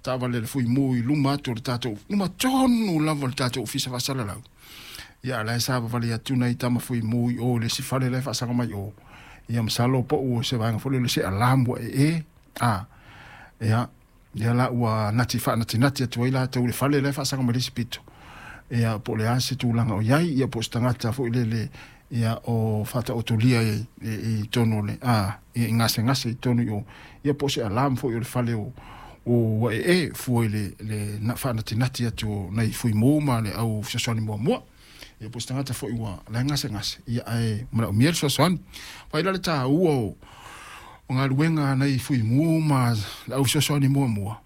taavale a le Fuimu i luma atu o le tatou, luma tonu lava o le tatou ofisa faasalalau. Ia, a o la e savavali atu nai tama Fuimu i o i le isi fale la e faasaga mai o. Ia, masalo po o se vaega foi lele o se alarm ua ee, a, ia, lea la ua nati faanatinati atu ai latou i le fale la e faasaga mai le isi pito. Ia, po o le a se tulaga o i ai, ia po o se tagata foi lele, ia, o faataotolia i totonu o le, a, ia, i gasegase i totonu i o, ia po o se alarm foi o le fale o ua ee fua i le faanatinati atu o nai Fuimu ma le au fesoasoani muamua. Ia po o se tagata foi ua la e gasegase, ia ae manaomia le fesoasoani. Vaai la le taua o galuega a nai Fuimu ma le au fesoasoani muamua.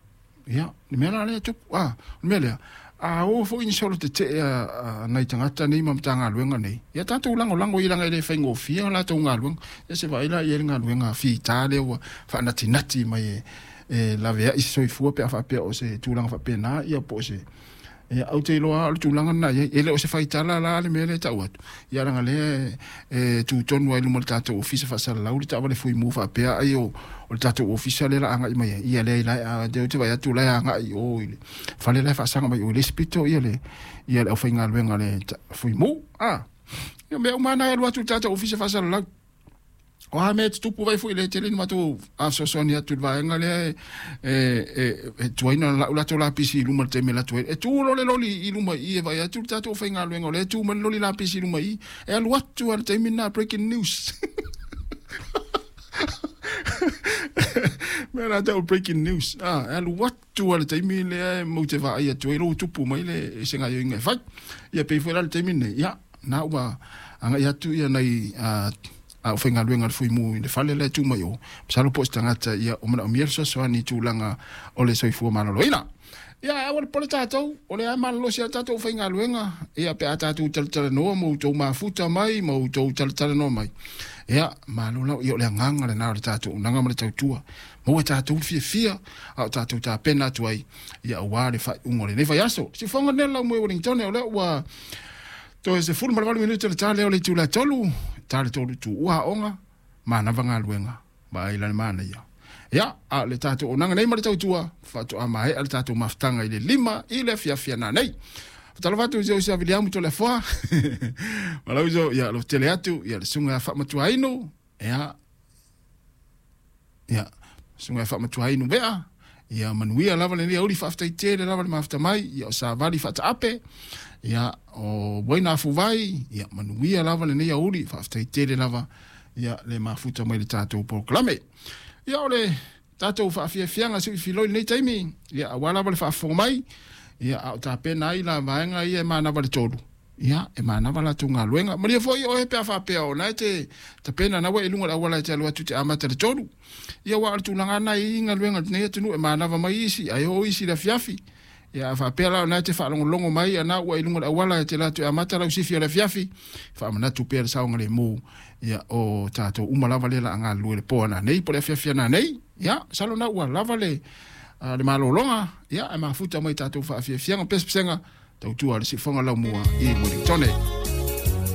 Ia, le mea la lea e tupu, a, o le mea lea, a o foi ni solo tetee a nai tagata nei ma Matagaluega nei, ia tatou lagolago i leaga e le faigofie a latou galuega. Ia se vaai la i ai le galuega fita lea ua faanatinati mai e laveai se soifua pe a faapea o se tulaga faapena, ia po o se. Ia, ou te iloa lava o le tulaga lena e i ai. E le o se faitala la le mea lea e tau atu, ia leaga lea e tu tonu lava i luma o le tatou ofisa faasalalau le taavale fuimu faapea ai o le tatou ofisa lea o le a agai mai ai. Ia leai la, ou te vaai atu o la e agai i o i le fale la e faasaga mai i o i le isi pito ia le aufaigaluega a le fuimu. A, ia o mea uma lava na e alu atu i le tatou ofisa faasalalau. O a mea e tutupu vai foi le tele ni matou fesoasoani atu i le vaega lea e tuai ona lau latou lapisi i luma i le taimi e alu atu ai. E tu loa le loli i luma i i e vaai atu le tatou aufaigaluega o lea e tu mai le loli lapisi i luma i i, e alu atu lava i le taimi lena, breaking news. Mea la tau breaking news. Ah, e alu atu lava i le taimi lea e matou te vaai atu ai, lou tupu mai le se gaoioiga e fai. Ia pei foi la le taimi lenei, ia, na ua agai atu ia nai aufaigaluega a le Fuimu i le fale la e tu mai o, masalo po o se tagata ia o manaomia le fesoasoani i tulaga o le soifua maloloina. Ia, ae aua le popole tatou, o lea e malolosi lava le tatou aufaigaluega, ia pe a tatou talatalanoa ma outou mafuta mai ma outou talatalanoa mai, ia, malo la, ia o le agaga lena o le tatou auaunaga ma le tautua. Maua e tatou le fiafia a o tatou tapena atu ai, ia aua le faaiuga o lenei vaiaso. Siufofoga nei o le laumue Wellingtone, o lea ua toe 18 minute le ta lea o le itula e 3, ta le 3 tuua aoga, manava galuega, vaai la le manaia. Ia, a o le tatou auaunaga nei ma le tautua, faatoa maea le tatou mafutaga i le 5 i le afiafi a nanei. Faatalofa atu i si ou uso ia Viliamu Toleafoa, ma lou uso ia Lotele atu, ia le susuga ia Faamatuainu, ia, Ia, susuga ia Faamatuainu Vea, ia manuia lava lenei aoauli, faafetai tele lava le mafuta mai, ia o Savali Faataape, ia o Uaina Afuvai, ia manuia lava lenei aoauli, faafetai tele lava ia le mafuta mai le tatou polokalame. Ia o le tatou faafiafiaga sui filoi i lenei taimi, ia aua lava le faafofoga mai, ia a o tapena ai la vaega ia e manava le 3. Ia, e manava latou galuega. Malie foi oe pe a faapea o na e te tapena na ua e i luga o le auala e te alu atu e te amata i le 3. Ia, aua o le tulaga lava na e i ai galuega a lenei atunuu, e manava mai isi, ae o isi i le afiafi. Ia, a faapea la o na e te faalogologo mai a na ua e i luga o le auala e te alu atu e amata lau sifi o le afiafi, faamanatu pea le saogalemu, ia, o tatou uma lava lea o le a galulue i le po a nanei po o le afiafi a nanei. Ia, masalo na ua lava le malologa, ia, ae mafuta mai i tatou faafiafiaga, pesepesega, Tautua le siufofoga laumua i Wellingtone.